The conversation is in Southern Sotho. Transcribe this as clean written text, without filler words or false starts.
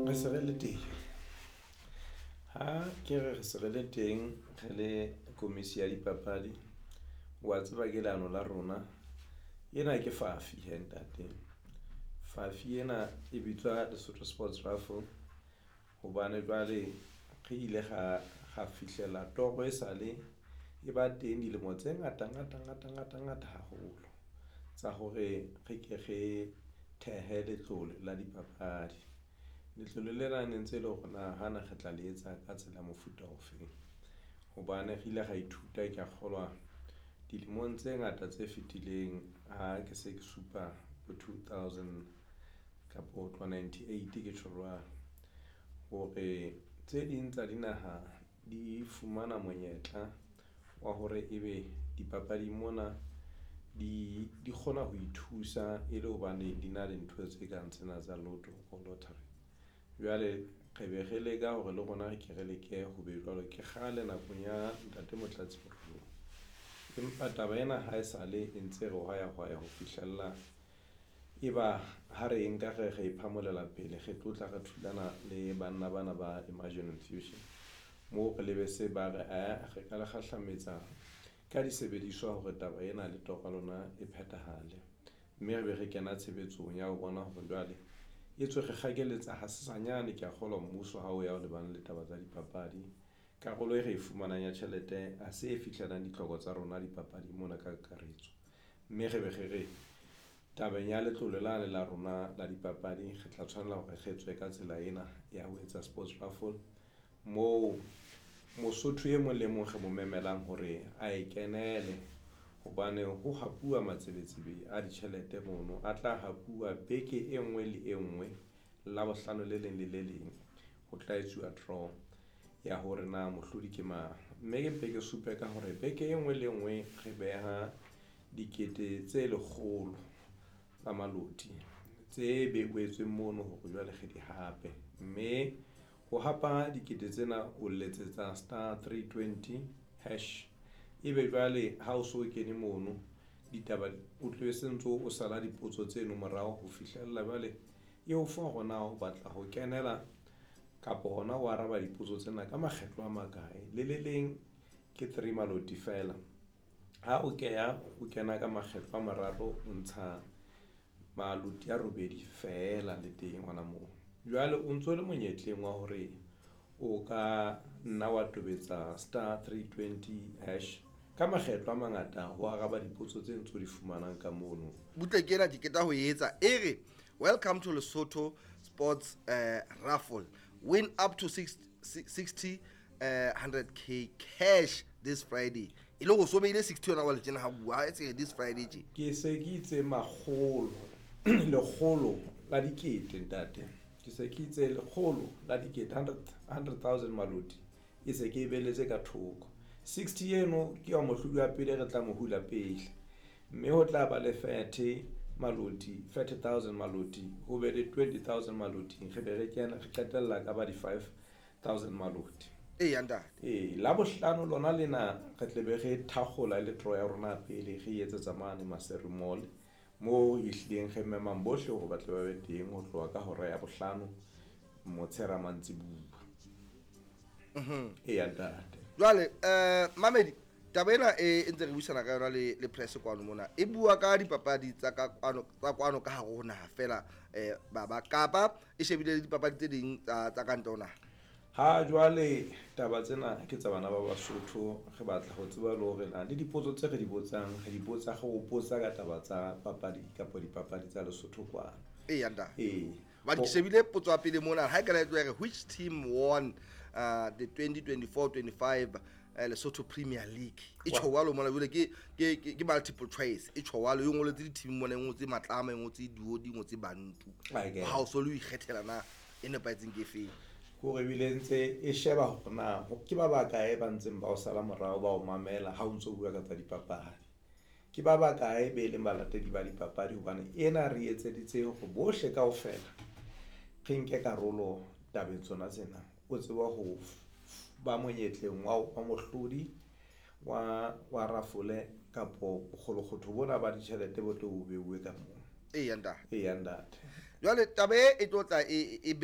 Re se re le teng. Ha ke re re se re le teng, re le komisi ya dipapadi, wa tseba ke leano la rona ena ke fafi hee ntate. Fafi ena e bitswa Lesotho Sports Raffle hobane jwale re ile ra fihlela toro e sale e ba teng dilemo tse ngata ngata ngata ngata ngata haholo tsa hore re ke re thehe letlole la dipapadi. Letlole lena ne ntse e le hore na hana re tla le etsa ka tsela ya mofuta ofeng hobane re ile ra ithuta. Ke ya kgolwa dilemong tse ngata tse fetileng ha ke se ke supa bo 2000 kapo ho tloha 98 ke tjho jwalo hore tse ding tsa dinaha di fumana monyetla wa hore ebe dipapading mona di kgona ho ithusa e le hobane di na le ntho tse kang tsena tsa lotto or lottery. Jwale re be re leka hore le rona re ke re leke ho be jwalo. Ke kgale nakong ya Ntate Motlatsi Morolong, empa taba ena ha esale e ntse re hwaya hwaya ho fihlella e ba ha re nka re phamolela pele, re tlotla re thulana le banna bana ba Imagine Infusion moo re lebe se ba re re ka le kgahlametsa ka disebediswa hore taba ena le toro ya lona e phethahale, mme re be re kena tshebetsong ya ho bona hore jwale e tswe re kgakeletsa ha sesanyane. Ke ya kgolwa mmuso ha o ya o lebane le taba tsa dipapadi, karolo e re e fumanang ya tjhelete ha se e fihlelang ditlhoko tsa rona dipapadi mona ka kakaretso, mme re be re re tabeng ya letlole lane la rona la dipapadi, re tla tshwanela hore re tswe ka tsela ena ya ho etsa sports raffle moo Mosotho e mong le mong re mo memelang hore a e kenele hobane ho hapuwa matsebetsebe a ditjhelete mono a tla hapuwa beke e nngwe le e nngwe. Labohlano le leng le le leng ho tla etsuwa draw ya hore na mohlodi ke mang, mme ke mpe ke supe ka hore beke e nngwe le nngwe re beha 100,000 tsa maloti tse behetsweng mono hore jwale re di hape, mme ho hapa dikete tsena o letsetsa *320#. Ebe jwale ha o so kene mono ditaba o tlohe se ntso o sala dipotso tseno morao ho fihlella jwale e o fa hore na o batla ho kenela kapo hona ho araba dipotso tsena ka makgetlo a makae. Le le leng ke three maloti fela ha o keya o kena ka makgetlo a mararo, o ntsha maloti a robedi fela le teng hona moo. Jwale o ntso le monyetleng wa hore o ka nna wa tobetsa *320# ka makgetlo a mangata ho araba dipotso tse ntso di fumanang ka mono. Butle ke ena ke qeta ho etsa e re, "Welcome to Lesotho Sports Raffle. Win up to 60 100K cash this Friday." E le go so beile 60 yona wa le tjena ha bua e tse this Friday tje. Ke se ke itse makgolo lekgolo la dikete ntate, ke se ke itse lekgolo la dikete, 100,000 maloti e se ke e beletse ka thoko. 60 eno ke ya mohlodi wa pele re tla mo hula pele, mme ho tla ba le 30 maloti, 30,000 maloti, ho be le 20,000 maloti, re be re kena re qetella ka ba di 5,000 maloti. Ee, ntate. Ee, la bohlano lona lena re tle be re thakgola le draw ya rona pele re etsetsa mane Maseru Mall moo ehlileng re memang bohle hore ba tle ba be teng ho tloha ka hora ya bohlano motshehare mantsibuya. Ee, ntate. Jwale mamedi, taba ena e ntse re buisana ka yona le press kwano mona e bua ka dipapadi tsa ka kwano tsa kwano ka hare ho naha fela, baba kapa e shebile le dipapadi tse ding tsa ka ntle ho naha? Ha jwale taba tsena ke tsa bana ba Basotho, re batla ho tseba le hore na le dipotso tse re di botsang re di botsa re o botsa ka taba tsa papadi kapa dipapadi tsa Lesotho kwano. Ee, ntate. Ee. Ba ke shebile potso ya pele mona ha e ka la re, "Which team won the 2024-25 Lesotho Premier League?" E tjho jwalo mona jwale ke multiple choice e tjho jwalo e ngoletse di-team mona, e ngotse Matlama, e ngotse Duodi, e ngotse Bantu. Ha o so le ho ikgethela na e nepahetseng ke efeng. Hore ebile ntse e sheba hore na ke ba bakae ba ntseng ba o sala morao ba o mamela ha o ntso bua ka tsa dipapadi, ke ba bakae be leng balatedi ba dipapadi, hobane ena re etseditse hore bohle kaofela re nke karolo tabeng tsona tsena. O tseba ho ba monyetleng wa mohlodi wa rafole kapo bokgolokgotho bona ba ditjhelete bo tlo bo beuwe ka moo. Ee, ntate. Ee, ntate. Jwale taba e tlo tla e